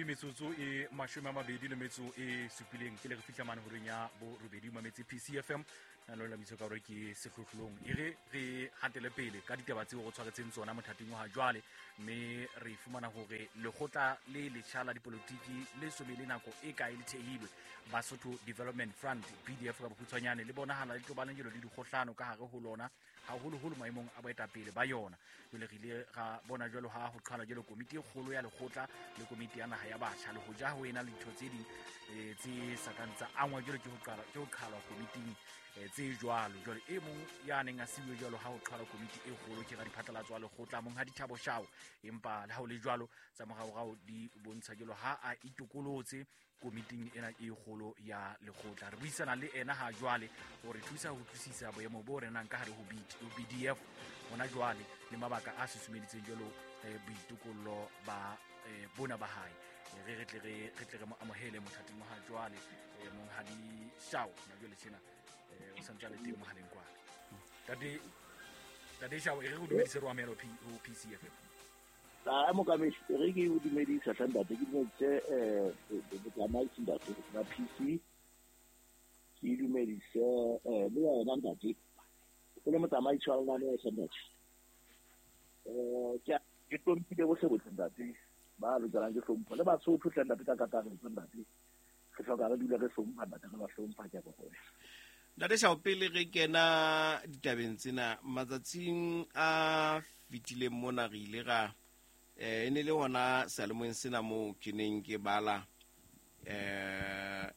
Metsotso e 27 pele re fihla mane horeng ya borobedi. Mametse PCFM na le bitso ka hore ke sehlohlolong. E re re hatele pele ka ditaba tseo re tshwaretseng tsona mothating wa ha jwale, mme re fumana hore lekgotla le letjha la dipolotiki le so be le nako e kae le thehilwe, Basotho Development Front, BDF ka bokgutshwanyane, le bonahala le tobane jelo le dikgohlano ka hare ho lona, haholoholo maemong a boetapele ba yona. Jwale re ile ra bona jwalo ha ho qhala jwalo komiti e kgolo ya lekgotla le komiti ya naha ya batjha, le hoja ho ena le ditho tse ding tse sa kang tsa angwa jwalo ke ho qhalwa komiting tse jwalo. Jwale e mong ya neng a siuwe jwalo ha ho qhalwa komiti e kgolo ke radiphatlalatso wa lekgotla, Monghadi Thabo Shao. Empa le ha ho le jwalo, tsa moraorao di bontsha jwalo ha a itokolotse komiting ena e kgolo ya lekgotla. Re buisana le ena ha jwale ho re thusa ho utlwisisa boemo bo renang ka hare ho BDF hona jwale le mabaka a susumeditseng jwalo boitokollo ba bona ba hae. Re tle re mo amohele mothating wa ha jwale, Monghadi Shao. Na jwale tjena o santse a le teng mohaleng kwana. Tate Shao, e re go dumedise, re amohele ho PCFM. A mokamedi, re ke o dumedisa hle ntate, ke dumedise botsamaisi ntate ba PC, ke dumedise le wena ntate o le motsamaisi wa lenaneo hle ntate. Ke hlomphile bohle bohle ntate ba lokelang ke hlompho, le Basotho hle ntate ka kakaretso ntate. Re hloka re dule re hlompha ntate, re ba hlompha, ke a bogoya. Ntate Shao, pele re kena ditabeng tsena, matsatsing a fetileng mona re ile ra e ne le hona seyalemoyeng sena moo ke neng ke bala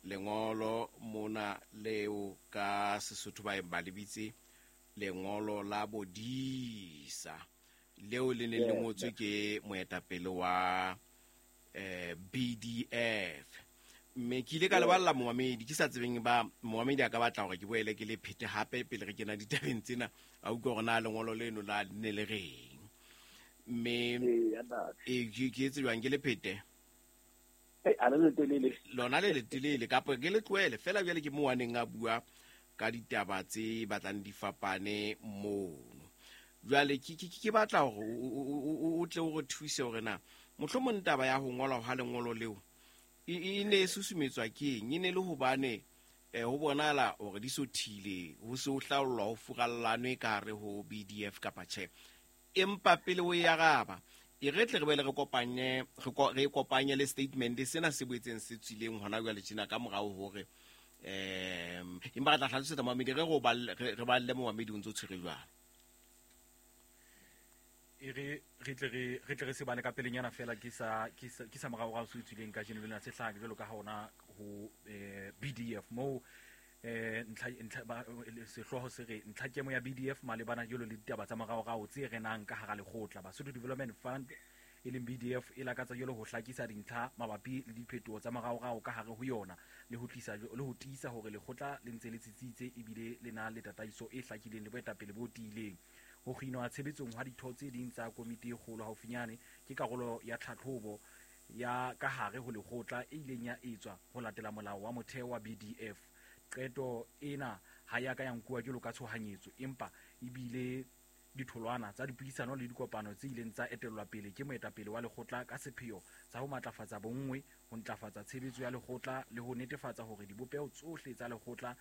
lengolo mona leo ka Sesotho ba ba le bitse lengolo la bodisa, leo le neng le ngotswe ke moetapele wa BDF. Mme ke ile ka leballa momamedi, ke sa tsebeng ba momamedi a ka batla hore ke boele ke le phete hape pele re kena ditabeng tsena, a utlwe hore na lengolo leno la ne le reng. Mme ke etse jwang, ke le phete? Lona le letelele kapa ke le tlohele fela? Jwale ke moo a neng a bua ka ditaba tse batlang di fapane mono. Jwale ke batla hore o tle o re thuse hore na mohlomong taba ya ho ngolwa ha lengolo leo e ne e susumetswa ke eng. E ne le hobane ho bonahala hore di so thile ho se ho hlaollwa ho furallanwe ka hare ho BDF kapa tjhe. Empa pele o e araba, e re tle re boele re kopanye re kopanye le statement sena se boetseng se tswileng hona jwale tjena ka morao hore empa re tla hlalosetsa momamedi, re re balle momamedi o ntso tshwere jwalo. E re re tle re se bale ka pelenyana fela, ke sa moraorao se tswileng kajeno lena, se hlaha jwalo ka ha ona ho BDF moo ntlha sehlooho se re ntlhakemo ya BDF malebana jwalo le ditaba tsa moraorao tse renang ka hara lekgotla. Basotho Development Fund e leng BDF e lakatsa jwalo ho hlakisa dintlha mabapi le diphetoho tsa moraorao ka hare ho yona, le ho tlisa le ho tiisa hore lekgotla le ntse le tsitsitse ebile le na le tataiso e hlakileng le boetapele bo tiileng. Ho kginwa tshebetsong hwa ditho tse ding tsa komiti e kgolo haufinyane ke karolo ya tlhatlhobo ya ka hare ho lekgotla e ileng ya etswa ho latela molao wa motheo wa BDF. Qeto ena ha ya ka ya nkuwa jwalo ka tshohanyetso, empa ebile ditholwana tsa dipuisano le dikopano tse ileng tsa etellwa pele ke moetapele wa lekgotla ka sepheo sa ho matlafatsa bonngwe, ho ntlafatsa tshebetso ya lekgotla le ho netefatsa hore dibopeho tsohle tsa lekgotla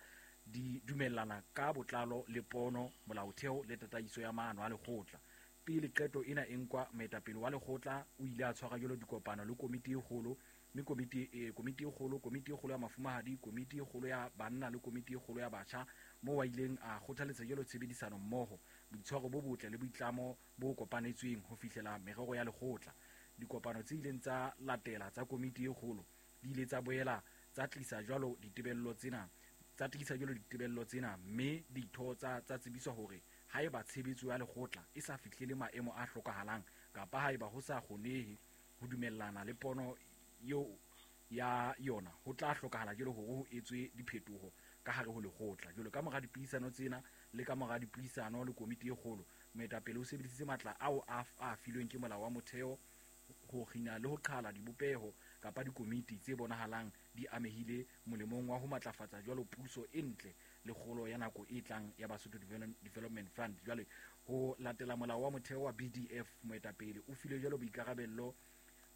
di dumellana ka botlalo le pono, molaotheo le tataiso ya maano a lekgotla. Pele qeto ena e nkwa, moetapele wa lekgotla o ile a tshwara jwalo dikopano le komiti e kgolo, mme komiti e kgolo, komiti e kgolo ya mafumahadi, komiti e kgolo ya banna le komiti e kgolo ya batjha, moo a ileng a kgothaletsa jwalo tshebedisano mmoho, boitshwaro bo botle le boitlamo bo kopanetsweng ho fihlela merero ya lekgotla. Dikopano tse ileng tsa latela tsa komiti e kgolo di ile tsa boela tsa tlisa jwalo ditebello tsena, mme ditho tsa tsebiswa hore haeba tshebetso ya lekgotla e sa fihlele maemo a hlokahalang kapa haeba ho sa kgonehe ho dumellana le pono eo ya yona, ho tla hlokahala jwalo hore ho etswe diphetoho ka hare ho lekgotla. Jwalo ka mora dipuisano tsena le ka mora dipuisano le komiti e kgolo, moetapele o sebedisitse matla ao a filweng ke molao wa motheo ho kgina le ho qhala dibopeho kapa dikomiti tse bonahalang di amehile molemong wa ho matlafatsa jwalo puso e ntle le kgolo ya nako e tlang ya Basotho Development Fund. Jwale ho latela molao wa motheo wa BDF, moetapele o filwe jwalo boikarabello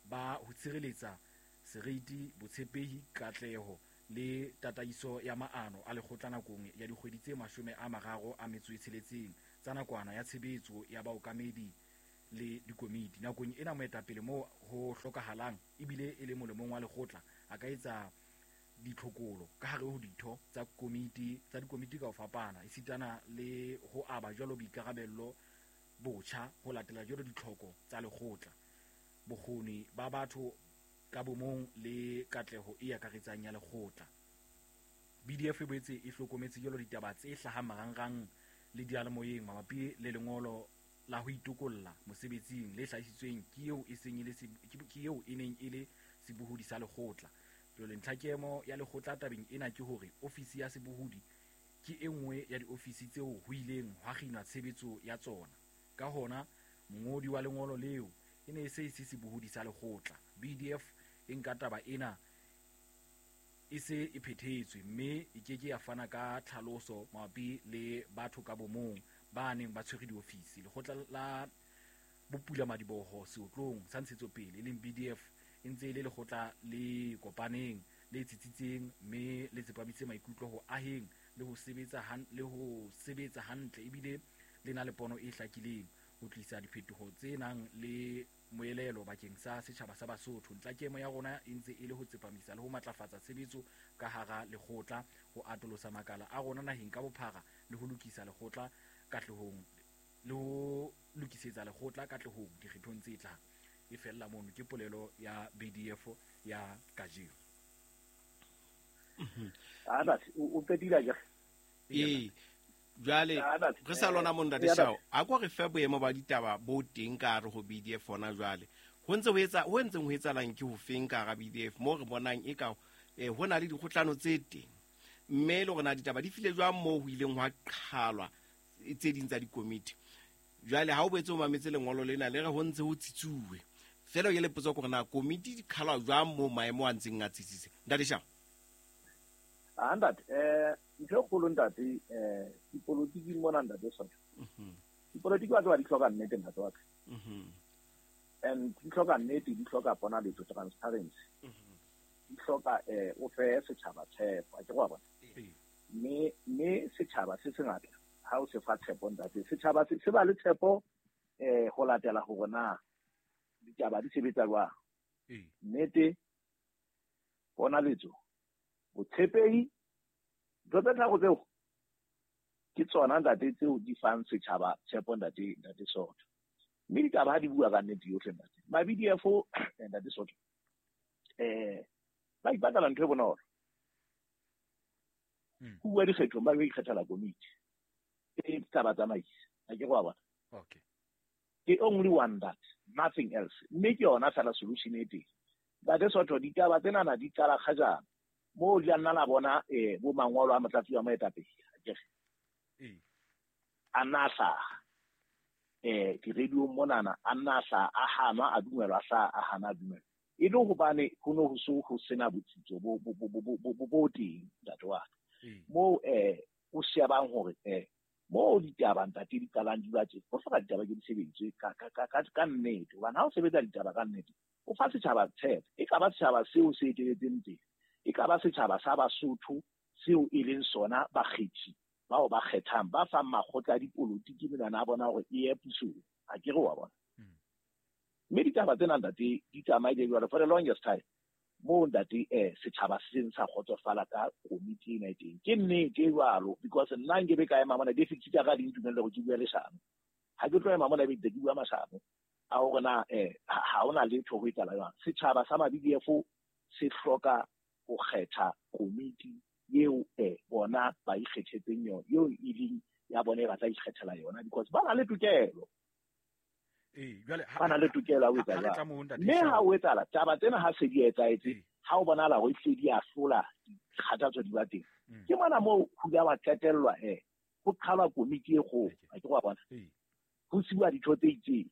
ba ho tshireletsa seriti, botshepehi, katleho le tataiso ya maano a lekgotla nakong ya dikgwedi tse 36 tsa nakwana ya tshebetso ya baokamedi le dikomiti. Nakong ena moetapele moo ho hlokahalang ebile e le molemong wa lekgotla a ka etsa ditlhokolo ka hare ho ditho tsa komiti tsa dikomiti ka ho fapana, esitana le ho aba jwalo boikarabello botjha ho latela jwalo ditlhoko tsa lekgotla, bokgoni ba batho ka bomong le katleho e akaretsang ya lekgotla. BDF e boetse e hlokometse jwalo ditaba tse hlahang marangrang le diyalemoyeng mabapi le lengolo la ho itokolla mosebetsing le hlahisitsweng ke eo e seng e le ke eo e neng e le sebohodi sa lekgotla. Jwale ntlhakemo ya lekgotla tabeng ena ke hore ofisi ya sebohodi ke e nngwe ya diofisi tseo ho ileng hwa kginwa tshebetso ya tsona. Ka hona mongodi wa lengolo leo e ne e se e se sebohodi sa lekgotla. BDF e nka taba ena e se e phethetswe mme e ke ke ya fana ka tlhaloso mabapi le batho ka bomong ba neng ba tshwere diofisi. Lekgotla la bopulamadiboho seotlong sa ntshetsopele e leng BDF e ntse e le lekgotla le kopaneng le tsitsitseng mme le tsepamitse maikutlo ho aheng le ho sebetsa hantle ebile le na le pono e hlakileng ho tlisa diphetoho tse nang le moelelo bakeng sa setjhaba sa Basotho. Ntlhakemo ya rona e ntse e le ho tsepamisa le ho matlafatsa tshebetso ka hara lekgotla, ho atolosa makala a rona naheng ka bophara le ho lokisa lekgotla katlehong le ho lokisetsa lekgotla katlehong dikgethong tse tlang. E fella mono ke polelo ya BDF ya kajeno. O qetile ja? Ee, jwale re sa lona mo Ntate Shao, a ko re fe boemo ba ditaba bo teng ka hare ho BDF hona jwale. Ho ntse ho etsa ho ntseng ho etsahalang ke ho feng ka hara BDF mo re bonang e ka ho na le dikgohlano tse teng, mme le hore na ditaba di file jwang moo ho ileng hwa qhalwa tse ding tsa dikomiti. Jwale ha o boetse o mametse lengolo lena le re ho ntse ho tsitsuwe fela, ke le potso hore na komiti di qhalwa jwang moo maemo a ntseng a tsitsitse. Ntate Shao. Ntate, ntho e kgolo ntate, dipolotiki mona ntate Sotho. Dipolotiki ba tseba di hloka nnete ntate wa ka. And di hloka nnete, di hloka ponaletso, transparency. Di hloka o fe setjhaba tshepo, a ke go bona. Mme setjhaba se sengata ha o se fa tshepo ntate, setjhaba se ba le tshepo ho latela hore na ditaba di sebetsa jwang. Nnete, ponaletso, botshepehi, ntho tse tharo tseo ke tsona ntate tseo di fang setjhaba tshepo ntate, ntate Sotho. Mme ditaba ha di bua ka nnete yohle ntate. Ma BDF ntate Sotho, ba ipatlela ntho e bonolo. Ho bua dikgethong ba ikgethela komiti e tla ba tsamaisa. A ke go bona. Okay. Ke only one that, nothing else. Mme ke yona fela solution e teng. Ntate Sotho, ditaba tsenana di qala kgajana moo di nna la bona bo mangolo a motlatsi wa moetapele akere a nna a hlaha di-radio monana, a nna a hlaha a hanwa a dumelwa, a hlaha a hana a dumelwa, e le hobane ho no ho so ho sena botsitso bo teng ntate wa ka. Moo o shebang hore moo ditaba ntate di qalang di ba tje, ho hloka ditaba ke di sebeditswe ka nnete, hobane ha o sebetsa ditaba ka nnete o fa setjhaba tshepo. E ka ba setjhaba seo se eteletseng pele, e ka ba setjhaba sa Basotho seo e leng sona bakgethi bao ba kgethang, ba fang makgotla a dipolotiki menwana a bona hore e ye pusong, a ke re wa bona. Mme ditaba tsena ntate di tsamaile jwalo for the longest time moo ntate setjhaba se seng sa kgotsofala ka komiti ena e teng. Ke nnete e jwalo, because nna nkebe ka ema mona deficit ya ka di ntumelle hore ke bue leshano. Ha ke tlo ema mona ebe ke bua mashano a hore na ha hona letho ho etsahala jwang. Setjhaba sa ma BDF se hloka ho kgetha komiti eo bona ba ikgethetseng yona, eo e leng ya bona e batla ikgethela yona, because ba na le tokelo. Ba na le tokelo ya ho etsa jwalo. Mme ha o etsahala taba tsena ha se di etsahetse, ha o bonahala hore ehlile di a hlola, dikgathatso di ba teng. Ke mona moo ho ile wa qetellwa ho qhalwa komiti e kgolo, a ke wa bona. Ho siwa ditho tse itseng,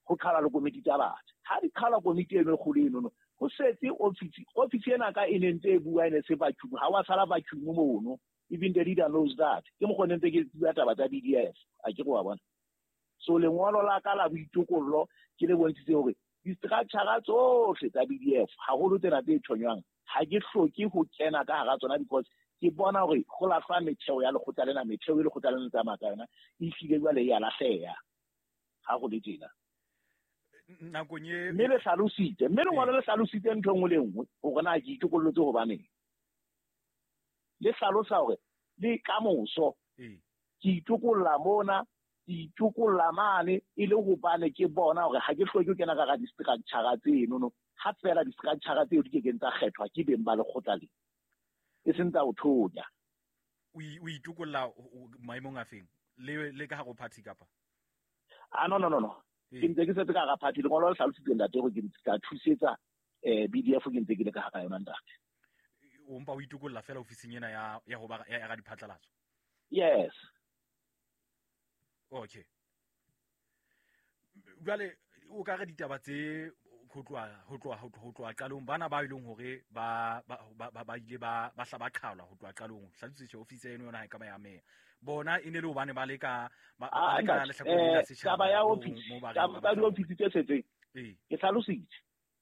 ho qhalwa le komiti tsa batjha. Ha di qhalwa komiti eno e kgolo eno, ho setse ofisi ena ka e ne ntse e bua e ne se vacuum, ha wa sala vacuum mono. Even the leader knows that. Ke mokgwa ne ntse ke bua taba tsa BDF, a ke wa bona. So lengolo la ka la boitokollo ke le bontshitse hore Di-structure tsohle tsa BDF haholo tsena tse thonywang ha ke hloke ho kena ka hara tsona because ke bona hore ho lahlwa metheo ya lekgotla lena, metheo e lekgotla lena tsamaya ka yona e hlile jwale e a lahleha ha ho le tjena. Nakong e Mme le hlalositse, mme lengolo le hlalositse ntho e nngwe le nngwe hore na ke itokollotse hobaneng. Le hlalosa hore le kamoso ke itokolla mona, ke itokolla mane e le hobane ke bona hore ha ke hloke ho kena ka hara di-structure tseno, ha feela di-structure tseo di kekeng tsa kgethwa ke beng ba lekgotla le, e seng tsa ho thonya. O itokolla maemong a feng? Le ka hare ho party kapa? Ah, no, no, no, no. Ke ntse ke setse ka hara party. Lengolo le hlalositse ntate hore ke tla thusetsa BDF ke ntse ke le ka hara yona ntate. O mpa o itokolla fela ofising ena ya ho ba ya ra diphatlalatso? Yes. Okay. Jwale o ka re ditaba tse ho tloha qalong bana ba ileng hore ba ile ba hla ba qhalwa ho tloha qalong, hlalositse ofisi eno yona ha e ka ba ya meya. Bona e ne le hobane ba le ka lehlakoreng la setjhaba. Taba ya ofisi, taba ya ofisi tse setseng. Ke hlalositse.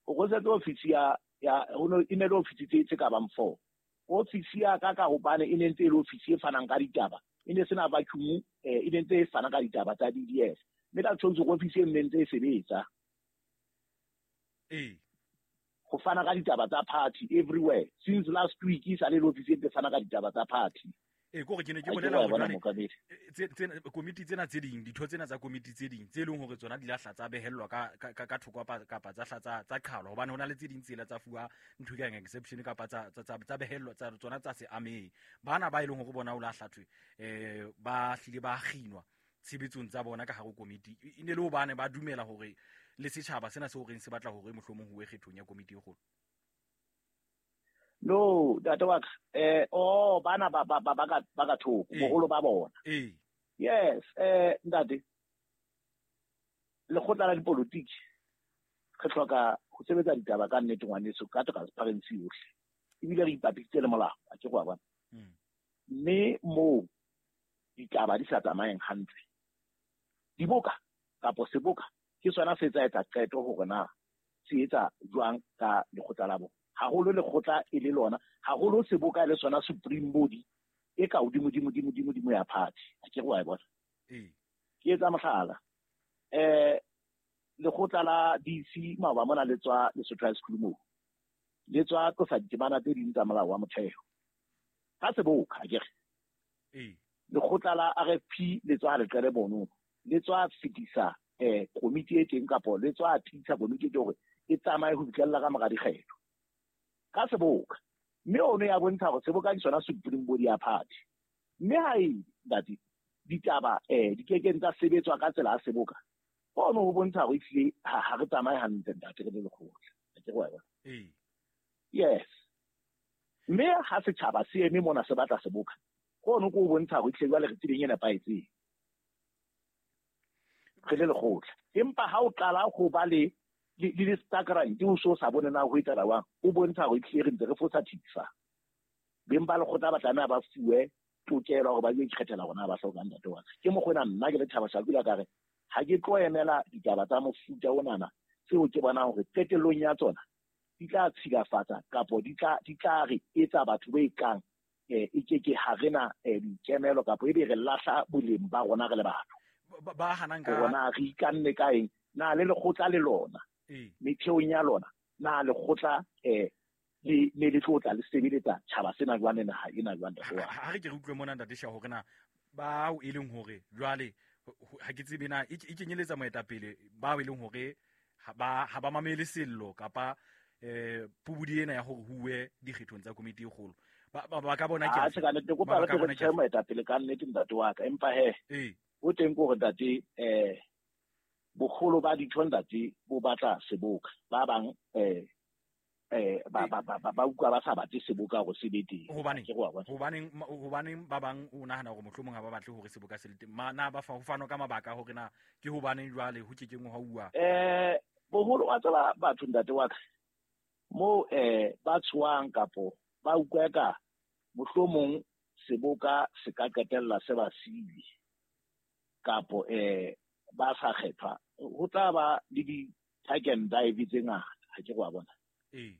O setse ofisi ya e ne le ofisi tse ka bang 4. Ofisi ya ka hobane e ne ntse e le ofisi e fanang ka ditaba. E ne sena vacuum, e ne ntse e fana ka ditaba tsa BDF. Mme ka tshwantsho ofisi e ne ntse e sebetsa. Ho fana ka ditaba tsa party everywhere. Since last week e sale le ofisi e ntse fana ka ditaba tsa party. Kore ke ne ke bolela hore komiti tsena tse ding, ditho tsena tsa komiti tse ding tse leng hore tsona di lahla tsa behellwa ka thoko kapa tsa hla tsa qhalwa, hobane hona le tse ding tsela tsa fuwa ntho e kang exception kapa tsa behellwa tsa tsona tsa se amehe. Bana ba e leng hore bona o lahla thwe ba hlile ba kginwa tshebetsong tsa bona ka hare ho komiti, e ne le hobane ba dumela hore le setjhaba sena se horeng se batla hore mohlomong ho kgethong ya komiti e kgolo. No, ntate wa ka, bana ba ka thoko, boholo ba bona. Yes, ntate, lekgotla la dipolotiki re hloka ho sebetsa ditaba ka nnete ngwaneso, ka transparency yohle. Ebile re ipapisitse le molao, a ke go a bona. Mme moo ditaba di sa tsamayeng hantle, diboka kapo seboka ke sona se tsa etsa qeto hore na se etsa jwang ka lekgotla la bona. Haholo lekgotla e le lona, haholo seboka e le sona supreme body e ka hodimo dimo dimo dimo dimo ya party. A ke go a bona. Ke etsa mohlala. Lekgotla la DC maoba mona le tswa Lesotho High School moo. Le tswa tlosa ditemana tse ding tsa molao wa motheo. Ka seboka a ke re. Lekgotla la RFP le tswa leqele bono. Le tswa fetisa komiti e teng kapo le tswa tiisa komiti e teng hore e tsamaye ho fihlella ka mora dikgetho. Ka seboka. Mme ono ya bontsha hore seboka ke sona supreme body ya party. Mme ha e ntate ditaba di kekeng tsa sebetswa ka tsela ya seboka. Ono ho bontsha hore ehlile ha re tsamaye hantle ntate re le lekgotla. Ke go bona. Yes. Mme ha setjhaba se eme mona se batla seboka, ono ko bontsha hore ehlile jwale re tseleng e nepahetseng. Re le lekgotla. Empa ha o qala ho ba le le stagrant o so sa bone na ho etsa wa o bontsha hore ehlile re ntse re fosa thifa. Beng ba lekgotla ba tlameha ba fuwe tokelo hore ba yo ikgethela hore na ba hlokang ntate wa. Ke mokgona nna ke le Thabo Shakula ka re ha ke tlo emela ditaba tsa mofuta onana tseo ke bonang hore qetellong ya tsona di tla tshilafatsa kapo di tla re etsa batho ba ekang e ke ha rena dikemelo kapo ebe re lahla boleng ba rona re le batho. Ba hanang ka rona re ikanne ka eng na le lekgotla le lona metheong ya lona na lekgotla le le tlotla le sebeletsa tjhaba sena jwang le naha ena jwang ntate wa. Ha re ke re utlwe mona ntate Sha hore na bao e leng hore jwale ha ke tsebe na e kenyeletsa moetapele bao e leng hore ha ba mamele sello kapa pubudi ena ya hore huwe dikgethong tsa komiti e kgolo. Ba ka bona ke a tsheka nete kopa re tlo moetapele ka nnete ntate wa ka, empa he o teng ko hore ntate boholo ba ditho ntate bo batla seboka. Ba bang ba utlwa ba sa batle seboka hore se be teng. Hobaneng ba bang o nahana hore mohlomong ha ba batle hore seboka se le teng? Na ba fa ho fanwa ka mabaka hore na ke hobaneng jwale ho kekeng hwa uwa? Boholo wa tseba batho ntate wa ka mo ba tshoang kapo ba utlwa ka mohlomong seboka se ka qetella se ba siile kapo ba sa kgethwa. Ho tla ba le Tag and dive tse ngata, ha ke go a bona.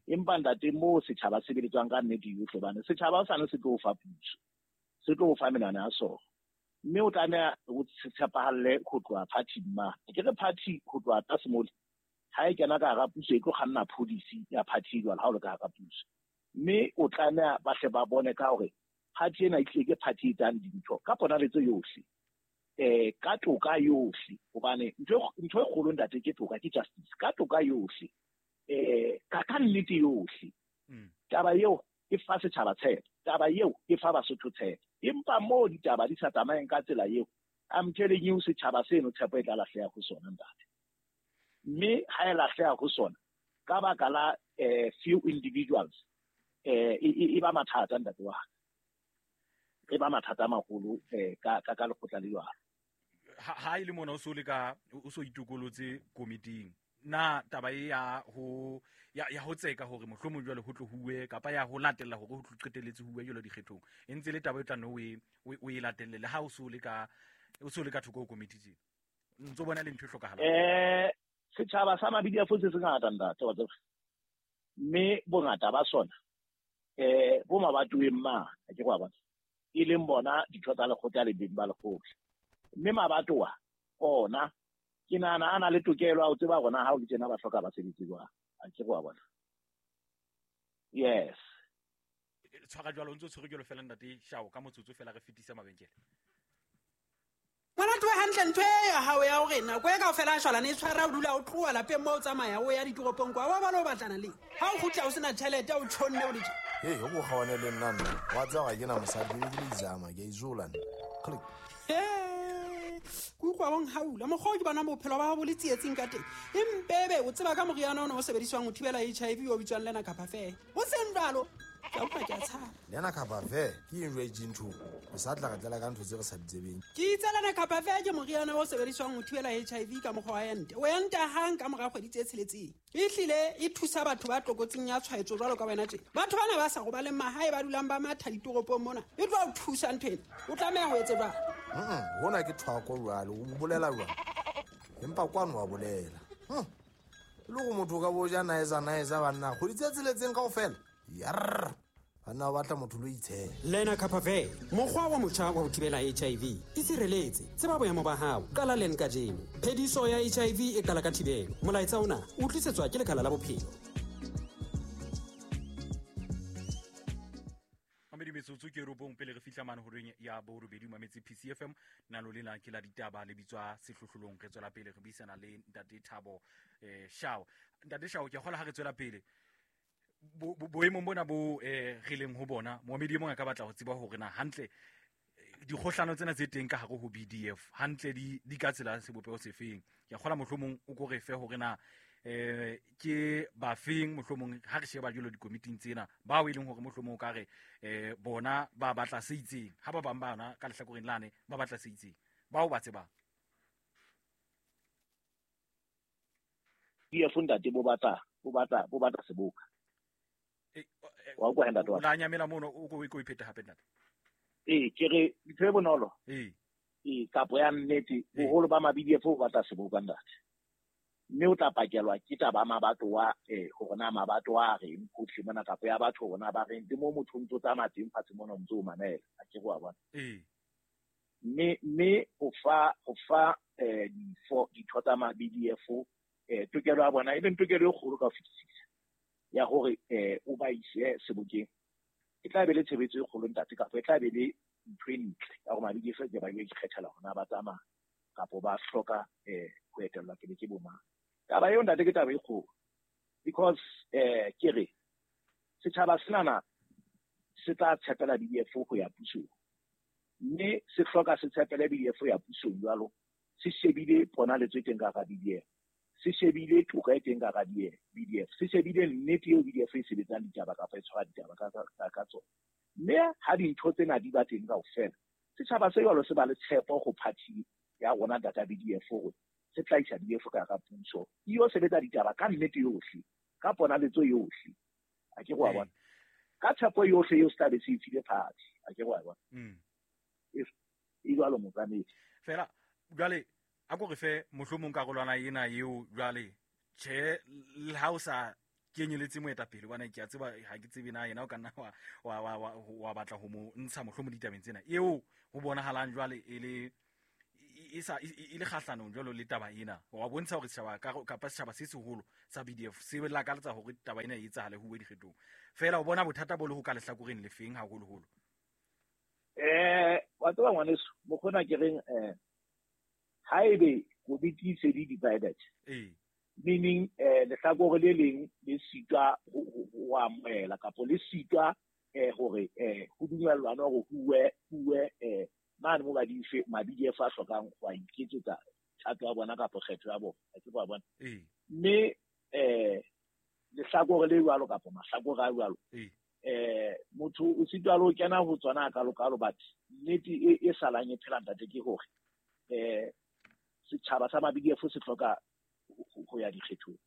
Empa ntate moo setjhaba se sebeletswang ka nnete yohle, hobane setjhaba o sane se tlo o fa puso, se tlo o fa menwana ya sona. Mme o tlameha o tshepahalle ho tloha party-ing mane. Ke re party ho tloha tlase mole, ha e kena ka hara puso e tlo kganna policy ya party jwale ha o le ka hara puso. Mme o tlameha ba hle ba bone ka hore party ena e tlile ke party e etsang dintho ka ponaletso yohle, ka toka yohle, hobane ntho e kgolo ntate ke toka, ke justice, ka toka yohle, ka nnete yohle. Taba eo e fa setjhaba tshepo, taba eo e fa Basotho tshepo. Empa moo ditaba di sa tsamayeng ka tsela eo, I'm telling you, setjhaba seno tshepo e tla lahleha ho sona ntate. Mme ha e lahleha ho sona ka baka la few individuals, e ba mathata ntate wa ka. E ba mathata a maholo ka lekgotla le jwalo. Ha e le mona o so le ka o so itokolotse komiting, na taba e ya ho ya ho tseka hore mohlomong jwale ho tlo huwe kapa ya ho latella hore ho tlo qetelletse huwe jwalo dikgethong, e ntse le taba e tla no o e latelle le ha o so le ka o so le ka thoko ho komiti tjena, ntso bona le ntho e hlokahalang? Setjhaba sa mabidi a fotse se ngata ntate wa tseba, mme bongata ba sona bo mabatoweng ma, ha ke go a bona, e leng bona ditho tsa lekgotla le beng ba lekgotla. Mme mabatowa ona ke nahana a na le tokelo ya ho tseba hore na ha o le tjena ba hloka basebetsi jwang. Ha ke go a bona. Yes. Tshwara jwalo, o ntso tshwere jwalo fela ntate Shao, ka motsotso fela re fetisa mabenkele. Ngwana tloha hantle ntho e ya hao ya hore nako e kaofela a shwalane e tshwara o dula o tloha lapeng moo o tsamaya o ya ditoropong kwa, wa bona o batlana le. Ha o kgutla o sena tjhelete, o tjhonne o le tje. Hei, o kgawane le nna nna. Wa tseba ga ke na mosadi, ke be ke le izama, ke a izola nna. Click. He, ke utlwa o nhaula. Mokgwa o ke bonang bophelo ba hao bo le tsietsing ka teng. Empebe o tseba ka moriana ona o sebediswang ho thibela HIV o bitswang Lenacapavir. Ho seng jwalo, ke a utlwa ke a tshaba. Lenacapavir ke eng jwale ntho? O sa tla re tlela ka ntho tse re sa di tsebeng. Ke itse Lenacapavir ke moriana o sebediswang ho thibela HIV ka mokgwa wa ente. O enta hang ka mora kgwedi tse tsheletseng. Ehlile e thusa batho ba tlokotsing ya tshwaetso jwalo ka wena tje. Batho bana ba sa robaleng mahae ba dulang ba matha ditoropong mona. E tlo o thusa ntho ena. O tlameha ho etse jwang? Hona ke thwako jwale, o bolela jwang? Empa kwano wa bolela. Le go motho ka bo ja naeza naeza banna, kgwedi tse tsheletseng kaofela. Yarr. Banna ba batla motho lo itshela. Lenacapavir, mokgwa wa motjha wa ho thibela HIV. E sireletse, tseba boemo ba hao, qala leng kajeno. Phediso ya HIV e qala ka thibelo. Molaetsa ona o tlisetswa ke Lekala la Bophelo. Mamedi metsotso ke robong pele re fihla mane horeng ya borobedi mametse PCFM. Nalo lena ke la ditaba le bitswa sehlohlolong. Re tswela pele re buisana le Ntate Thabo Shao. Ntate Shao, ke kgola ha re tswela pele. Boemong bona bo re leng ho bona, moamedi e mong a ka batla ho tseba hore na hantle dikgohlano tsena tse teng ka hare ho BDF hantle di ka tsela sebopeho sefeng. Ke a kgola mohlomong o ko re fe hore na ke bafeng mohlomong ha re sheba jwalo dikomiting tsena bao e leng hore mohlomong o ka re bona ba batla se itseng, ha ba bang bana ka lehlakoreng lane ba batla se itseng, bao ba tsebang. BDF ntate bo batla, bo batla, bo batla seboka. Wa utlwa ntate wa ka? La nyamela mono, o ko o iphete hape ntate. Ee, ke re ntho e bonolo. Ee, kapo ya nnete, boholo ba ma-B D F bo batla seboka ntate. Mme o tla pakelwa ke taba ya mabatowa, hore na mabatowa a reng hohle mona, kapo ya batho hore na ba reng, le moo motho o ntso tsamaya teng fatshe mona o ntso o mamela, ha ke re wa bona. Mme ho fa, ho fa, difo, ditho tsa ma-B D F, tokelo ya bona, e leng tokelo e kgolo ka ho fetisisa ya hore, o ba ise sebokeng. E tla be le tshebetso e kgolo ntate, kapa e tla be le ntho e ntle ya hore ma-B D F ke ba ikgethela hore na ba tsamaya kapa ba hloka, ho etellwa pele ke bo mang. Taba eo ntate ke taba e kgolo, because, ke re setjhaba senana se tla tshepela B D F ho ya pusong, mme se hloka se tshepele B D F ho ya pusong jwalo, se shebile ponaletso e teng ka hara B D F, se shebile toka e teng ka hara B D F, se shebile nnete eo B D F e sebetsang ditaba kapa e tshwara ditaba ka tsona. Mme ha dintho tsena di ba teng kaofela, setjhaba se jwalo se ba le tshepo ho party ya rona data B D F hore se tla isa B D F ka hara puso, e yo sebetsa ditaba ka nnete yohle, ka ponaletso yohle. Ha ke re wa bona. Ka tshepo yohle eo se tla be se e file party. Ha ke re wa bona. E jwalo motsamedi. Fela jwale a ko re fe mohlomong karolwana ena eo jwale Tjhe, le ha o sa kenyeletse moetapele bana, ke a tseba ha ke tsebe na yena o ka nna wa batla ho mo ntsha mohlomong ditabeng tsena eo ho bonahalang jwale e le e sa e le kgahlanong jwalo le taba ena. Wa bontsha hore setjhaba kapa setjhaba se seholo sa BDF se lakaletsa hore taba ena e etsahale ho uwe dikgethong. Feela o bona bothata bo le ho ka lehlakoreng lefeng haholoholo? Wa tseba ngwaneso, mokgona ke reng, haebe komiti e se di divided, meaning lehlakore le leng le sitwa ho amohela kapa le sitwa hore ho dumellwane hore ho uwe mane mo ma-BDF a hlokang ho a iketsetsa thato ya bona kapa kgetho ya bona, a ke wa bona. Mme lehlakore le jwalo kapa mahlakore a jwalo, motho o sitwa le ho kena ho tsona a kalokalo, but nnete e salang e phela ntate ke hore setjhaba sa ma-BDF se hloka ho ya dikgethong.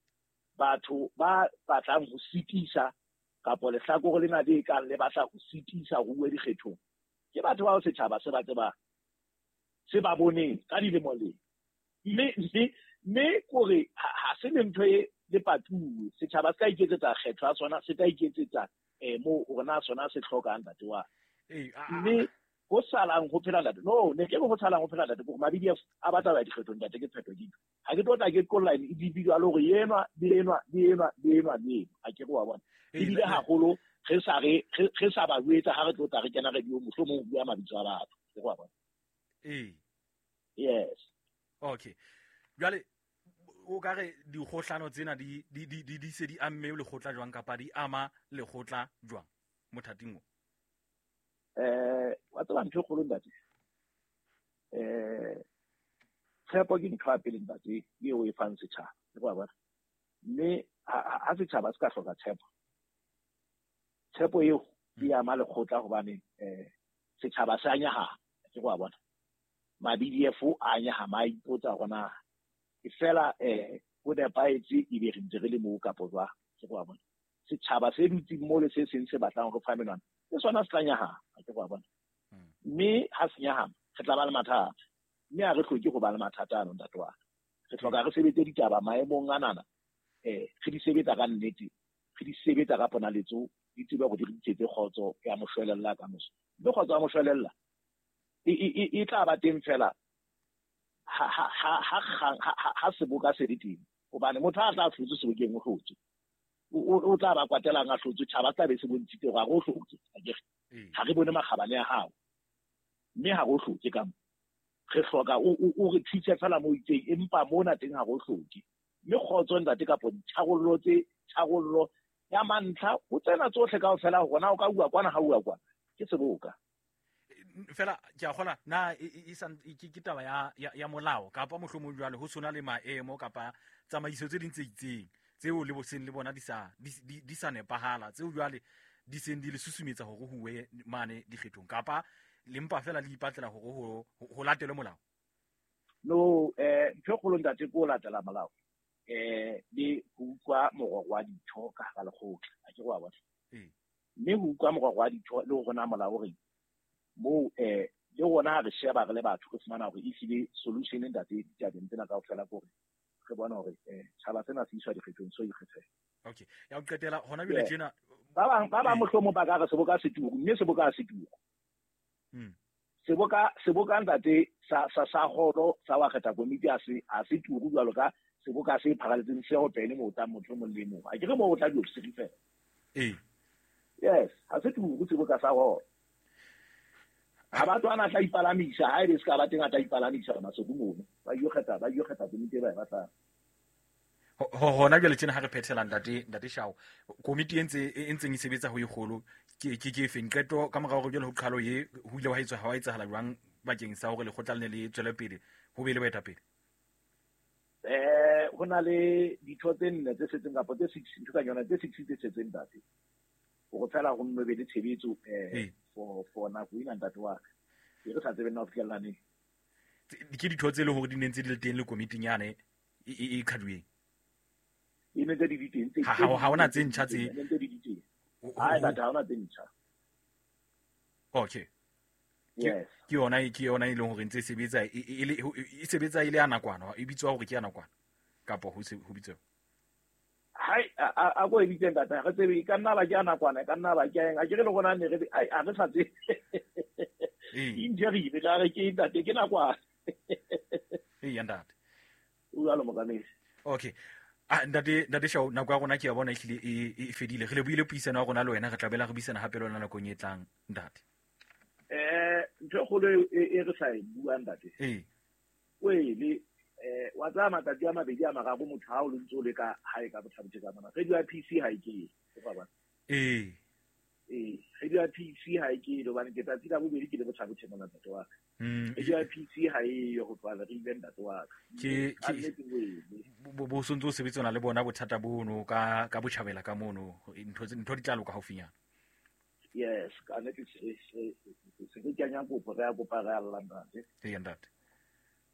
Batho ba batlang ho sitisa kapa lehlakore lena le kang le batla ho sitisa ho uwe dikgethong ke batho bao setjhaba se ba tsebang, se ba boneng ka dilemo le. Mme kore ha se le ntho e le patuwe, setjhaba se ka iketsetsa kgetho ya sona, se ka iketsetsa moo hore na sona se hlokang ntate wa. Mme ho salang ho phela ntate, no, ne ke re ho salang ho phela ntate, hore ma-BDF a batla ho ya dikgethong ntate, ke phetho ke. Ha ke tlo tla ke qolla e di jwalo hore enwa le enwa le enwa le enwa le enwa, a ke re wa bona. Ebile haholo re sa re re sa ba jwetsa ha re tlo tla re kena radio mohlomong ho bua mabitso a batho, ke re wa bona. Yes. Okay. Jwale o ka re dikgohlano tsena di se di amme lekgotla jwang kapa di ama lekgotla jwang mothating o? Wa tseba ntho e kgolo ntate, tshepo ke ntho ya pele ntate eo e fang setjhaba, ke wa bona. Mme ha setjhaba se ka hloka tshepo, tshepo eo e ama lekgotla hobane setjhaba se a nyahama, ke wa bona. Ma-BDF a nyahama, a ipotsa hore na e fela ho nepahetse ebe re ntse re le moo kapa jwang, ke wa bona. Setjhaba se dutseng moo le se seng se batlang hore fa menwana ke sona se tla nyahama, ke wa bona. Mme ha se nyahama re tla ba le mathata, mme ha re hloke ho ba le mathata ano ntate wa ka. Re hloka re sebetse ditaba maemong anana, re di sebetsa ka nnete, re di sebetsa ka ponaletso, di tsebe hore di re tlisetse kgotso ya moshwelella ka moso. Mme kgotso ya moshwelella e tla ba teng fela ha seboka se le teng, hobane motho ha tla hlotse sebokeng o hlotse, o tla ba kwatelang a hlotse, tjhaba tla be se bontshitse hore ha re o hlotse, akere ha re bone makgabane a hao, mme ha re o hlotse ka mo. Re hloka o re thuse fela mo itseng, empa mona teng ha re o hloke. Mme kgotso ntate kapa ditharollo tse tharollo ya mantlha ho tsena tsohle kaofela hore na o ka bua kwana ha bua kwana ke seboka. Fela ke a kgola na e ke taba ya molao kapa mohlomong jwale ho sona le maemo kapa tsamaiso tse ding tse itseng tseo le boseng le bona di sa nepahala, tseo jwale di seng di le susumetsa hore ho uwe mane dikgethong kapa le mpa fela le ipatlela hore ho latelwe molao? No, ntho e kgolo ntate ke ho latela molao, le ho utlwa morero wa ditho ka hara lekgotla, a ke re wa bona. Mme ho utlwa morero wa ditho le hore na molao o reng moo, le rona ha re sheba re le batho re fumana hore ehlile solution ntate ditabeng tsena kaofela ke hore re bone hore tjhaba sena se iswa dikgethong so ikgethela. Okay, ya ho qetela hona jwale tjena ba bang mohlomong ba ka re seboka se turu, mme seboka ha se turu. Seboka ntate sa holo sa wa kgetha komiti ha se turu jwalo ka seboka se pharaletseng se ho pele moo tla motho mong le mong. A ke re moo o tla diofisiri fela. Yes, ha se turu seboka sa holo. Ha batho ana tla ipalamisa, ha ebe se ka ba teng a tla ipalamisa masoku mono. Ba yo kgetha komiti e ba e batlang. Hona jwale tjena ha re phethela ntate Shao, komiti e ntseng e sebetsa ho e kgolo ke efeng qeto ka mora hore jwale ho qhalo ye ho ile wa etsahala jwang bakeng sa hore lekgotla le ne le tswele pele ho be le baetapele? Ho na le ditho tse nne tse setseng kapa tse 6, ntho ka yona tse 6 tse setseng ntate. Hore fela ho nno be le tshebetso for nako ena ntate wa ka. E re sa tsebe nna ho fihlella neng. Ke ditho tse leng hore di ne ntse di le teng le komiting yane e qhaduweng. E ne ntse di le teng tse Ha hona tse ntjha tse. Ne ntse di le teng. Hai batho ha hona tse ntjha. Okay. Yes. Ke yona e leng hore ntse e sebetsa e sebetsa e le ya nakwana, e bitswa hore ke ya nakwana kapa ho bitswa. Hai a ko e bitseng tata re tsebe ka nna ba ke ana kwana ka nna ba ke eng a ke re le gona ne re a re sa tse injury le re ke ntate ke nakwana. Ee ntate o jalo mokamedi. Okay, ntate Shao, nako ya rona ke ya bona ehlile e fedile. Re lebohile puisano ya rona le wena, re tla bela re buisana hape le wena nakong e tlang ntate. Ntho e kgolo e re sa e buang ntate. Ee. O ele wa tsaya matsatsi a mabedi a mararo motho ha o le ntse o le ka hae ka botlhabothe ka mona. Radio ya PC ha e ke. Ee. Ee, radio ya PC ha e ke hobane ke tsatsi la bobedi ke le botlhabothe mona ntate wa ka. Radio ya PC ha e yo ho tloha re ile ntate wa ka. Ke bo sontso o sebetsana le bona bothata bono ka botjhabela ka mono ntho di tla loka haufinyana. Yes, ka nnete se ke kenya kopo re a kopa re a lla ntate. Ee ntate.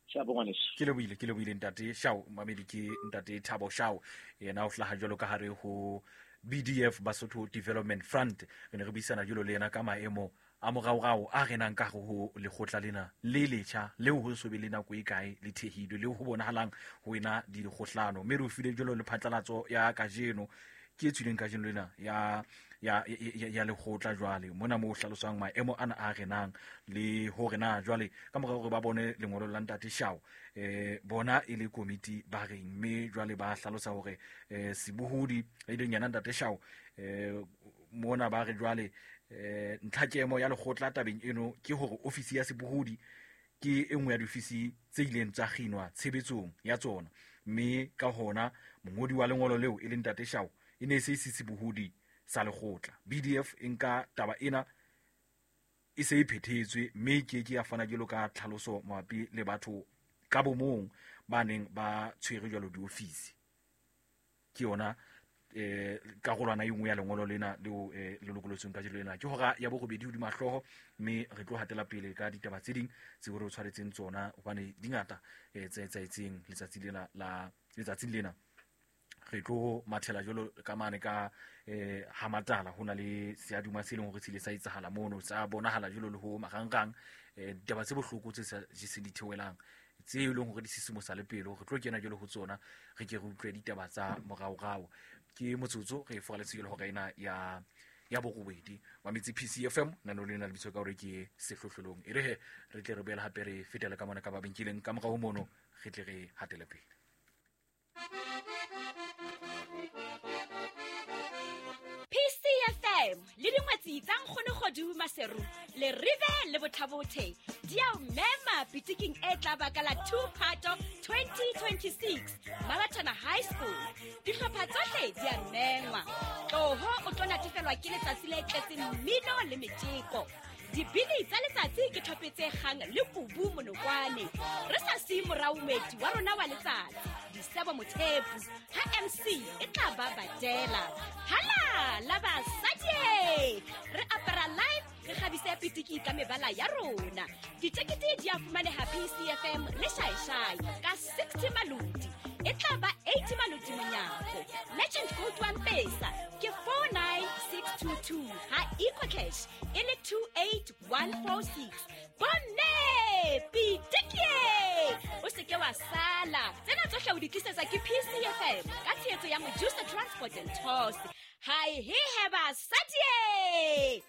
Shapo ngwaneso. Ke lebohile ntate Shao. Mamedi ke ntate Thabo Shao, yena o hlaha jwalo ka hare ho BDF Basotho Development Front. Re ne re buisana jwalo le yena ka maemo a moraorao a renang ka ho lekgotla lena le letjha leo ho so be le nako e kae le thehilwe, leo ho bonahalang ho ena di dikgohlano. Mme re o file jwalo le phatlalatso ya kajeno ke e tswileng kajeno lena ya lekgotla jwale mona mo hlalosang maemo ana a renang le hore na jwale ka mora hore ba bone lengolo la ntate Shao bona e le komiti ba reng, mme jwale ba hlalosa hore sebohodi e leng yena ntate Shao mona ba re jwale ntlhakemo ya lekgotla tabeng eno ke hore ofisi ya sebohodi ke e nngwe ya diofisi tse ileng tsa kginwa tshebetsong ya tsona, mme ka hona mongodi wa lengolo leo e leng ntate Shao e ne se sebohodi sa lekgotla. BDF e nka taba ena e se e phethetswe mme ke ke ya fana jwalo ka tlhaloso mabapi le batho ka bomong ba neng ba tshwere jwalo diofisi. Ke yona karolwana e nngwe ya lengolo lena leo le lokolotsweng kajeno lena. Ke hora ya borobedi hodima hlooho, mme re tlo hatela pele ka ditaba tse ding tseo re o tshwaretseng tsona hobane di ngata tse etsahetseng letsatsing lena. Re tlo mathela jwalo ka mane ka ha Matala ho na le seaduma se leng hore se ile sa etsahala mono, sa bonahala jwalo le ho marangrang, ditaba tse bohloko tse sa jeseng di theohelang tse e leng hore di sisimosa le pelo. Re tlo kena jwalo ho tsona, re ke re utlwe ditaba tsa moraorao. Ke motsotso re foraletse jwalo hora ena ya borobedi Mametsi PCFM nano lena lebitso ka hore ke sehlohlolong. E re he re tle re boele hape re fetele ka mona ka mabenkeleng ka morao mono, re tle re hatele pele. PCFM le dingwetsi tsa Nkgonogodu Maseru le Rive le Bothabothe di a o mema pitiking e tla baka la 2 Phato 2026 Mabatana High School. Dihlopha tsohle di a mengwa. Tloho o tlo natefelwa ke letsatsi le tletseng mmino le metjeko. Dibini tsa letsatsi ke thopetse kgang le kubu monokwane. Re sa siye morao moeti wa rona wa letsatsi, Disebo Mothepu, ha MC e tla ba badela. Hala la basadi! Re apara live, re kgabise pitiki ka mebala ya rona. Ditekete di a fumaneha PCFM le Shaishai ka 60 maloti. E tla ba 80 maloti monyako. Merchant code wa Mpesa ke 49622 ha EcoCash e le 28146. Bomme pitiki! O se ke wa sala. Tsena tsohle o di tlisetsa ke PCFM ka tshehetso ya Mojusa Transport and Tours. Hai he he basadi!